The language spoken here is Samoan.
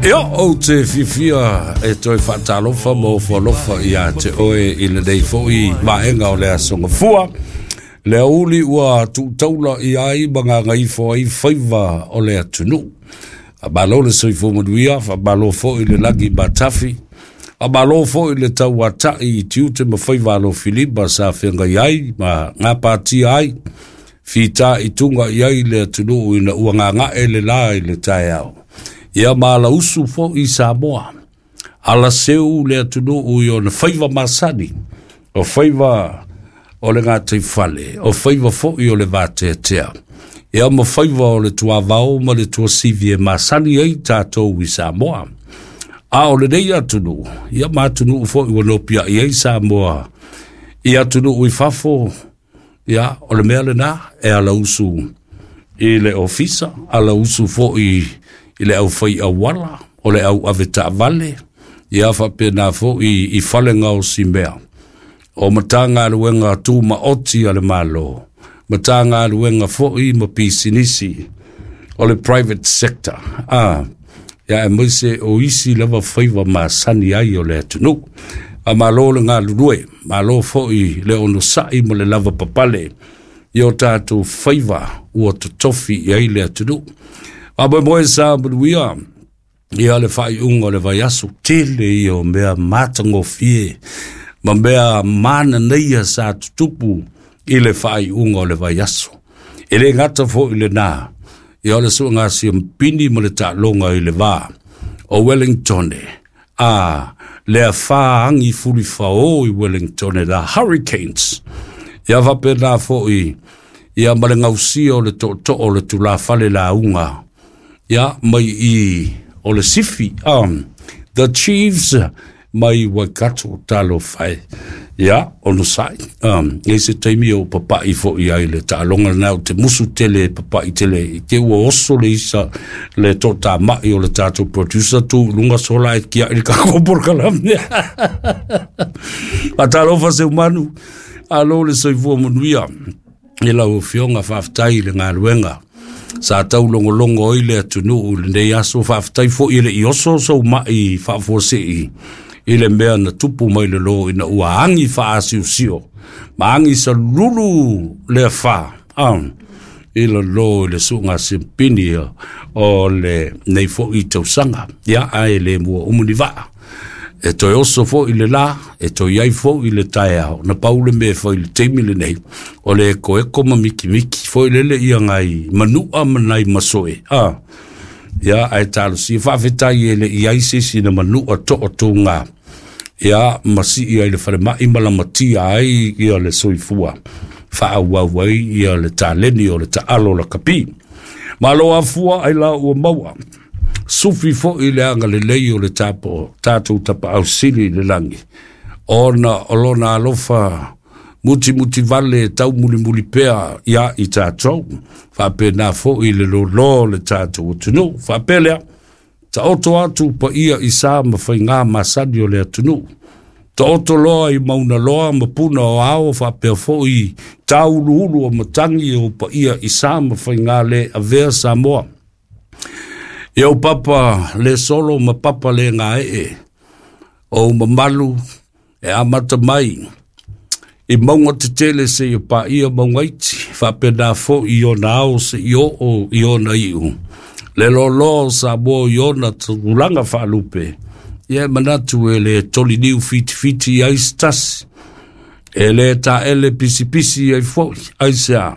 Ia, ou te fiafia e toe faatalofa ma ofo alofa ia te oe i lenei foi vaega o le Aso Gafua. Le aoauli ua tuutaula i ai ma gagaifo ai faiva o le atunuu. Faamalo le soifua manuia, faamalo foi le lagi matafi, faamalo foi le tauatai i tiute ma faiva alofilima sa feagai ai ma gapatia ai, fita i tuga i ai le atunuu ina ua gaga'e le la i le taeao. Ia ma alausu foi Samoa, alaseu le atunuu i ona faiva masani, o faiva o le gataifale, o faiva foi o le vateatea, ia ma faiva o le tuavao ma le tuasivi e masani ai tatou i Samoa. A o lenei atunuu, ia ma atunuu foi ua nopiai ai Samoa i atunuu i fafo, ia, o le mea lena e alausu i le ofisa, alausu foi i le aufai auala, o le au avetaavale, ia faapena foi i fale gaosimea, o Matagaluega Tumaoti a le Malo, Matagaluega foi ma pisinisi o le private sector, ia aemaise o isi lava faiva masani ai o le atunuu. Faamalo le galulue, malo foi le onosai ma le lava papale i o tatou faiva ua totofi i ai le atunuu. Faamoemoe sa manuia ia le faaiuga o le vaiaso, tele ia o mea matagofie ma mea mananaia sa tutupu i le faaiuga o le vaiaso. E le gata foi lena, ia o le suega siampini ma le taaloga i le va o Wellingtone, a le afa agi fulifao i Wellingtone, the Hurricanes. Ia faapena foi ia ma le gausia o le tootoo o le tulafale lauga ia mai i o le Sifi, the Chiefs mai Waikato, talofa e. Ia, onosai. E se taimi o papai foi ai le taaloga lena o te musu tele papai tele i te ua oso le isa le tō mai o le tātou producer tu lunga sola e kia i le kako porokalame. Faatalofa se umanu, alo le soifua manuia i lau afioga, faafetai i le galuega sa taulogologo ai le atunuu i lenei aso. Faafetai foi e le i oso sou mai faafuasei i le mea na tupu mai le lō ina ua agi faaasiosio ma agi salulu le afā i lalo i le suʻuga simpini o lenei foi tausaga. Ia, ae le mua umu ni vaa. E toe oso foi le la, e toe ai foi le taeao. Na pau le mea foi le taimi lenei, o le eko eko ma mikimiki. Foi lele ia ngai manua ma nai masoe. Ia, ae talosia faafetai e le i ai se isi na manua toʻatoga. Ia, ma sii ai le falemai ma lamatia ai ia le soifua. Faaauau ai ia le taleni o le taalo lakapi. Malo afua ai la ua maua. Sufi foi le agalelei o le tapo, tatou tapaau sili i le lagi. Ona o lona alofa muti muti vale tau muli muli pea ia i tatou. Faapena foi le lolo le tatou atunuu. Faapea lea, taoto atu paia i sa ma faigā masani o le atunuu. Taoto loa i mauna loa ma puna o ao faapea foi tāuluulu o matagi o paia i sa ma faigā le avea Samoa. Ia o papa le solo ma papa le gaee, o mamalu e amata mai i maunga tetele seia paia maugaiti, faapena foi i ona ao seia oo i ona iu. Le loaloa o Samoa i ona tulaga faalupe, ia e manatu e le toliniu fitifiti ai se tasi, e le taele pisipisi ai foi, aisea?